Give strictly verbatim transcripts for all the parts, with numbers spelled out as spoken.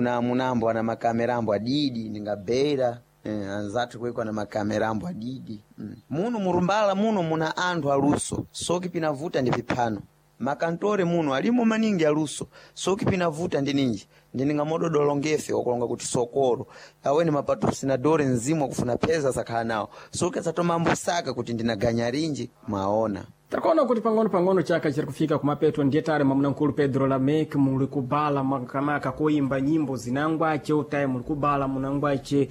Kuna munambo ana makamerambo adidi ndingabera eh, anzathu kweko ana makamerambo adidi mm. Muno murumbala muno muna anthu aluso soki pinavuta ndi piphano makantore muno alimo maningi aluso soki pinavuta ndi ninji ndiningamododolongefe wakulonga kuti sokolo aweni mapatrocinadore mzimu akufuna peza sakhala nawo soki asatomambosaka kuti ndinaganya rinji mwaona. Takuona kuti pang'ono-pang'ono chaka chiri kufika kumapeto ndiye tare mwamuna-mkulu Pedro Lamek muli kubala makamaka koimba nyimbo zinangwace utaye muli kubala munangwace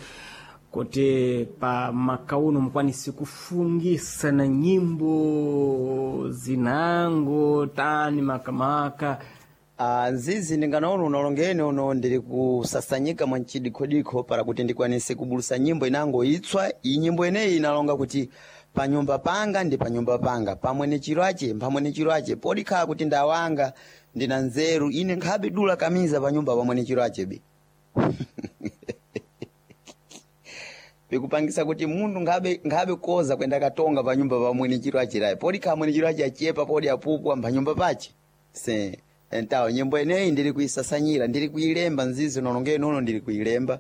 kuti pa makauno mukwanise kufungisa na nyimbo zinango tani makamaka. Ah, nzizi ndinganaona unalongene uno ndili kusasanyika mwa mchidikhodikho para kuti ndikwanise kubulusa nyimbo inango itswa. Iyi nyimbo ineyi inalonga kuti panyumba panga ndi panyumba panga pamwe ni chiro ache pamwe ni chiro ache podikhala kuti ndawanga ndina nzeru ine nkhabe dula kamiza panyumba pamwe ni chiro ache be pikupangisa kuti munthu nkhabe nkhabe koza kwenda katonga panyumba pamwe ni chiro achirayi podikhala mwene chiro ache achepa podi apupwa mpanyumba pache se entawo nyimbo ineyi ndili kuisasanyira ndili kuilemba nzizi unolongeni uno ndili kuilemba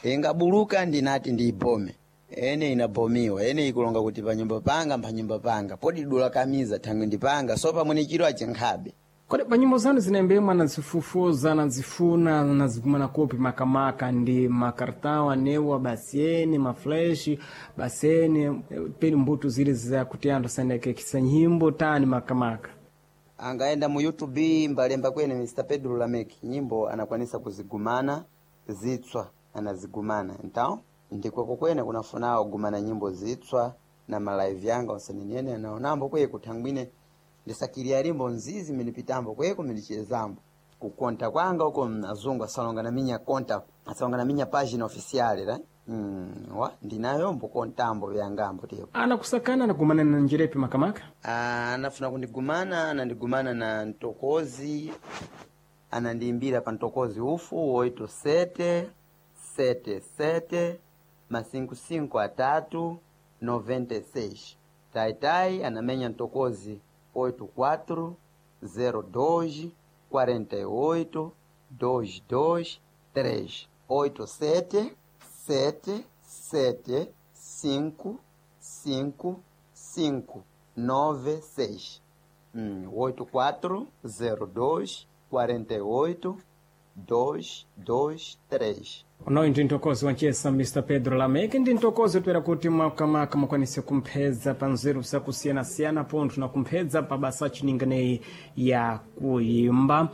ingabuluka ndinati ndiibome ene inabomiwa ene ikulonga kuti panyumba panga mpanyumba panga podi dula kamiza thangwe ndipanga so pamwe ni chiro ache nkhabe. Kodi pa nyimbo zanu zinaimbemwa nazifufuza nazifuna nazikumana kopi makamaka ndi makartão anewa basi ene maflash basi ene peni mbuto zile zakuti anthu asandekekisa nyimbo tani makamaka. Angaenda mu YouTube mbalemba kwene Mister Pedro Lamek nyimbo anakwanisa kuzigumana zitswa anazigumana então ndikweko kwene kunafunawo gumana nyimbo zitswa na malive yanga onse nene anaonambo kweko kuthangwine ndisakiria limbo nzizi minipitambo kweko minichezambo kukonta kwanga uko azungu asalonga na minya konta asalonga na minya página oficial ra mm, wa ndinayo mbukontambo vyangambo tiyo Anakusakana anakumana na njirepi makamaka. Ah, anafuna kundigumana anandigumana na ntokozi anandiimbira pa ntokozi ufu oito sete sete sete masinko cinco atatu noventa e seis taitai anamenya ntokozi oito quatro zero dois quarenta e oito dois dois três oito sete sete sete cinco cinco cinco nove seis hum, oito quatro zero dois quarenta e oito dois dois três. Unoyu ndi mtokozi wanchesa Mister Pedro Lamek ndi mtokozi toera kuti makamaka mukwanise kumphedza pa nzeru zakusiyanasiyana pontho na kumphedza pa basa achininganeyi ya kuimba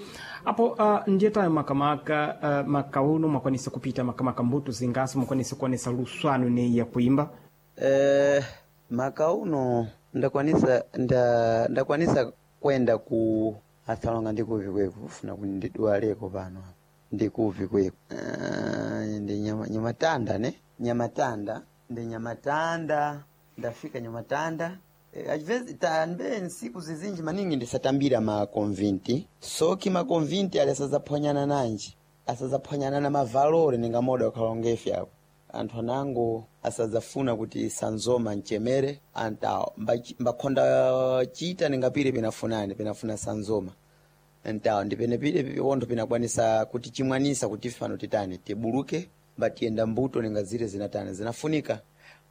apo uh, ndiye tayo makamaka uh, makauno mwakwanise kupita makamaka mbuto zingaso mukwanise kuonesa luswano ineyi ya kuimba. Eh, makauno ndakwanisa nda, ndakwanisa kwenda ku asalonga ndikuvi kweku kufuna kundidwaleko pano ndikuvi kweku uh, ndi nyama, nyamatanda ne nyamatanda ndi nyamatanda ndafika nyamatanda e, às tambe nsiku zizinji maningi ndisatambira makonvinti soki makonvinti ali asazaphwanyana nanji asazaphwanyana na mavalore ningamoda wakhalongefe apo anthu anango asadzafuna kuti sanzoma mchemere anta mbakhonda chita ningapire pinafunani pinafuna sanzoma ntawo ndipenepire pipontho pinakwanisa kuti chimwanisa kuti fano titani tibuluke mbatiyenda mbuto ninga zile zinatani zinafunika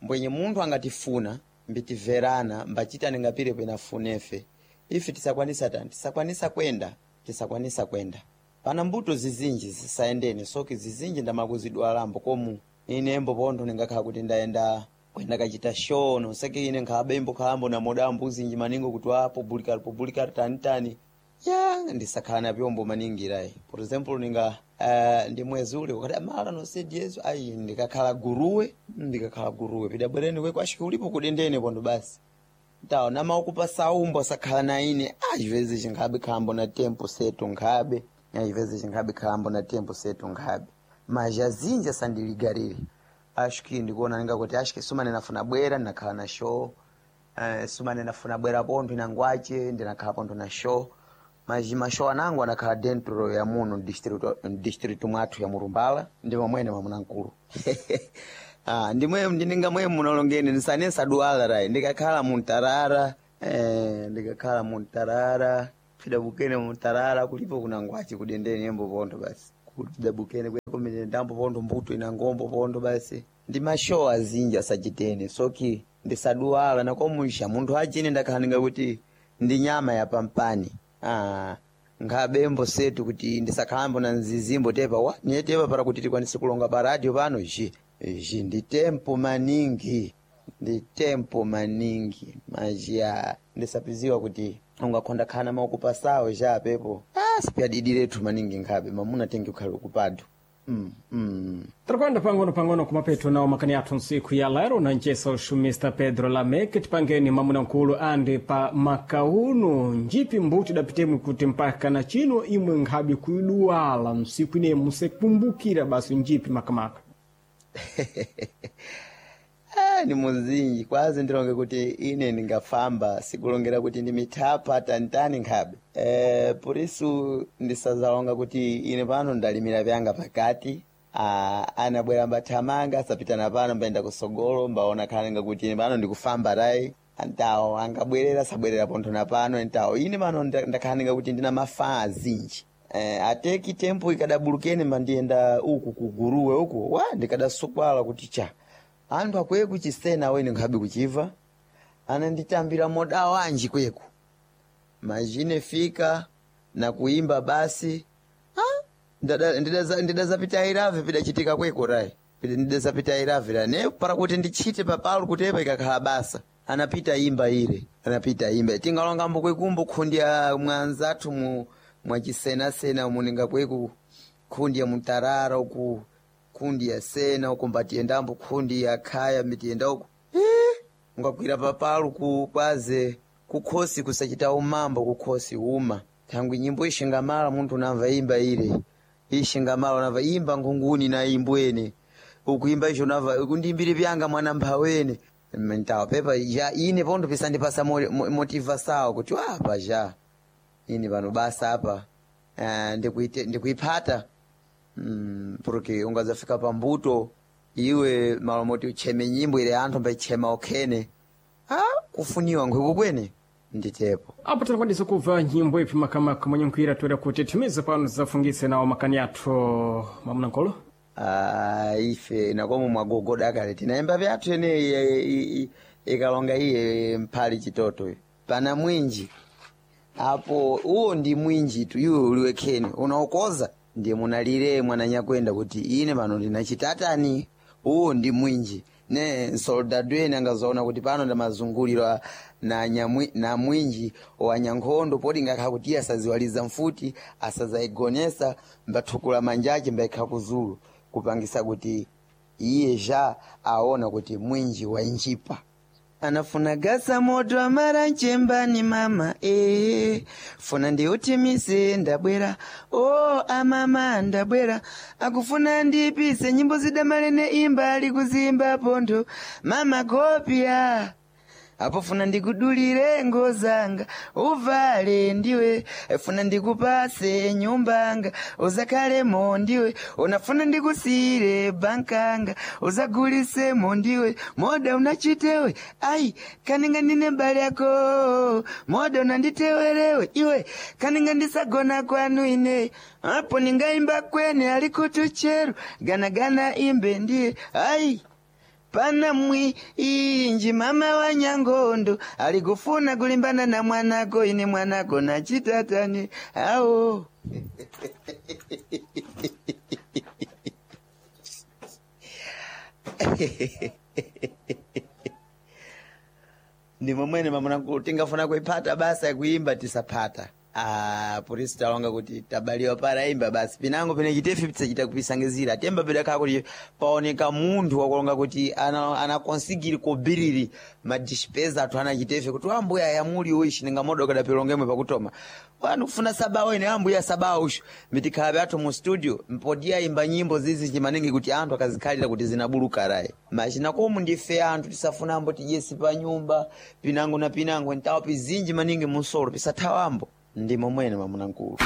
mbwenye munthu angatifuna mbitiverana mbachita ningapire pinafunefe ife tisakwanisa tani tisakwanisa kwenda tisakwanisa kwenda pana mbuto zizinji zisayendeni soki zizinji ndamakuzidwalambo komu ine mbo pontho ndingakhala kuti ndayenda kwenda kachita show noseke ine nkhabe imbo khalambo namoda mbuzinji maningo kuti wa publicar publicar tani tani ya ndisakhala na vyombo maningi rayi por exemplo ninga uh, ndi mwezi ule wakati mala no sei ayi ndikakhala guruwe ndikakhala guruwe pidabwereni kweko ashike ulipo kudendene pontho basi tawo namaukupa saumbo sakhala na ine às chinkhabe khalambo na tempo setu nkhabe às chinkhabe khalambo na tempo setu nkhabe mas azinji asandiligarire acho que ndikuona ningakuti acho que sumane nafuna bwera ndinakhala na show uh, sumane nafuna bwera pontho inangwache ndinakhala pontho na show mas mashow anangu anakhala dentro ya muno distrito, distrito mwathu ya Murumbala ndi momwene mwamunamkulu ah, ndimwe ndininga mwe munalongeni ndisane saduala rai ndikakhala muntarara eh, ndikakhala muntarara pidabukene muntarara kulipo kunangwache kudendeni embo pontho basi Kudabukene kweko ndambo pondo mbuto ina ngombo pondo basi ndi mashow azinji asachitene soki ndisaduwala nakomusha munthu achine ndakhaninga kuti ndi nyama ya pampani. Ah, nkhabembo setu kuti ndisakhalambo na nzizimbo tepa wa niye tepa para kuti tikwanise kulonga pa radio pano ji ji ndi tempo maningi, ndi tempo maningi majiya ndisapiziwa kuti ungakhonda khana maukupasawo ja pepo. Ah, sipyadidirethu maningi nkhabe mamuna tenge ukhale ukupadu. Mm, mm. Tirakwenda pang'ono pang'ono kumapeto nawo makani athu ntsiku ya lero na ncesa uxumista Pedro Lamek. Tipangeni mamunankulu andi pa makauno njipi mbuti dapitemwe kuti mpaka na chino imwe nkhabe kuiduwala ntsiku ine musekumbukira basi njipi makamaka. Ah, ni muzinji kwazi ndilonge kuti ine ndingafamba sikulongera kuti ndi mithapa tantani nkhabe. Eh, purisu ndisazalonga kuti ine pano ndalimira vyanga pakati. Ah, anabwera mbathamanga asapitana pano mbayenda kusogolo mbaona khalenga kuti ine pano ndikufamba tayi antawo angabwerera sabwerera pontho na pano ntawo ine pano nda- ndakhalenga kuti ndina mafaa azinji. Eh, ateki tempo ikadabulukene mandiyenda uku kuguruwe uku wa ndikadasukwala kuti cha anthu akwiye kuchisena wene nkhabe kuchiva ananditambira moda wanji kweku majine fika na kuimba basi. Ah, ndada- ndidaza- ndidazapita irave pidachitika kweko rai. Pida- ndidazapita irave ra ne para kuti ndichite papalo kutepa ikakhala basa anapita imba ire anapita imba tingalongambo kwekumbo khundya mwanzathu mu mwachisenasena muninga kweku khundi ya mutarara uku khundi ya sena uku mbatiyendambo khundi ya khaya mitiyenda uku. Eh, ungakwira papalu ku kwaze kukhosi kusachita umambo kukhosi uma thangwi nyimbo ishingamala munthu unamva imba ile ishingamala unamva imba nkhunguni na imbwene ukuimba icho unamva kundimbire pyanga mwana mphawene ntawa pepa ja ine pondo pisandipasa mo- mo- motivasawo kuti apa ja ine pano basa apa. Eh, ndikuite- ndikuiphata. Mm, porque ungazafika pambuto iwe malomoti ucheme nyimbo ile anthu mbaichema okhene. Ah, kufuniwa nkhwiku kwene nditepo. Apo tinakwanisa kubva nyimbo ipi makamaka mwenye toera kuti timize pano zafungise nawo makani athu mamunankolo. Ah, ife nakomo mwagogoda kale tinaimba vyathu ene ikalonga iye mphali chitoto pana mwinji apo uwo ndi mwinji tu iwe uliwekheni unaokoza ndiye munalire mwananyakwenda kuti ine pano ndinachitatani uwo ndi mwinji ne soldado ene angazoona kuti pano ndamazungulirwa na, nyamwi, na mwinji wa nyankhondo poti ngakhala kuti iye asaziwaliza mfuti asazayigonesa mbathukula manjache mbaikha kuzulu kupangisa kuti iye ja aona kuti mwinji wainjipa anafuna gasa moto amara nchembani mama ee funa ndiutimise ndabwera o oh, amama ndabwera akufuna ndipise nyimbo zidamalene imba ali kuzimba pontho mama kopya apo funa ndikudulire ngozanga uvale ndiwe funa ndikupase nyumbanga uzakhalemo ndiwe unafuna ndikusiyire bankanga uzagulisemo ndiwe moda unachitewe ai kaninga ndine mbali yako moda unanditewerewe iwe kaninga ndisagona kwanu ine apo ningaimba kwene alikutucheru ganagana imbe ndiye ai pana mwi inji mama wa nyangondo alikufuna kulimbana na mwanako ine mwanako na chitatani awo. Ndi momwene mamunanku tingafuna kuiphata basa yakuimba tisaphata. Ah, polisi talonga kuti tabaliwa para imba basi pinango pene chitefi pisachita kupisangizira temba pedakhala kuti paoneka munthu wakulonga kuti ana anakonsigiri kobiriri madispeza athu ana chitefi kuti ambuya yamuli uishi ningamodo kadapilongemwe pakutoma wanu kufuna sabawo ine ambuya sabawo ushu mitikhala pyathu mu studio mpodiya imba nyimbo zizi chimaningi kuti anthu akazikhalira kuti zinabuluka rayi machina komu ndife anthu tisafunambo tijesi pa nyumba pinango na pinango ntawo pizinji maningi musolo pisathawambo ndi momwene mamunankulu.